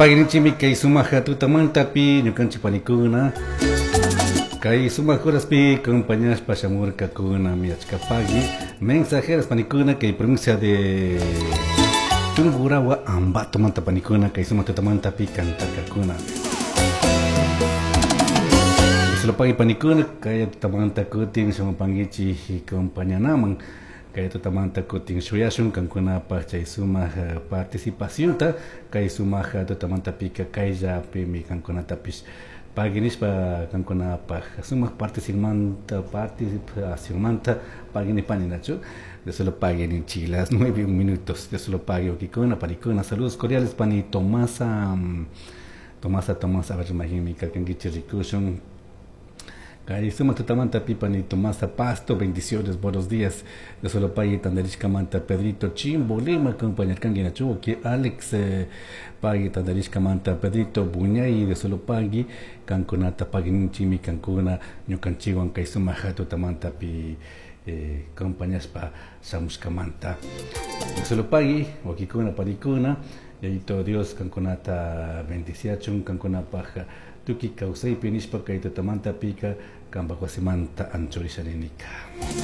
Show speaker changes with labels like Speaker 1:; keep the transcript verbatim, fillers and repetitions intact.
Speaker 1: Pagui kay sumaq tutamantapi ñukanchik panikuna kay sumaq horaspi acompañashpa shamurkakuna achka pagui mensajeras panikuna kay provincia de Tungurahua Ambato manta panikuna kay sumaq tutamantapi cantarkakuna. Solo pagui panikuna kay tutamanta kutin shamupankichik acompañanaman kay tutamanta kutin shuyashun kankunapaj chay sumaq participacionta kay sumaq tutamantapika kayllapimi kankunatapish pagui nishpa kankunapaj sumaq participacionmanta participacionmanta pagui nipani nachu de solo pagui ninchik las nueve minutos de solo pagui ukikuna panikuna. Saludos cordiales pani Tomasa Tomasa Tomasa, a ver, imagíname karkankichik rikushun kay sumaq tutamanta pani Tomasa Pasto, bendiciones, buenos días. De solo pagui tandarishkamanta Pedrito Chimbolema acompañarkanki nachu que Alex eh, pagui tandarishkamanta Pedrito Buñay de solo pagui kankunata pagui ninchimi kankuna ñukanchikwan kay sumaq tutamantapi eh, acompañashpa shamushkamanta. De solo pagui wakikuna panikuna Yayito Dios kankunata bendiciachun kankunapaj tukuy kawsaypi nishpa kay tutamantapika kanpak wasimanta anchurisha ninika.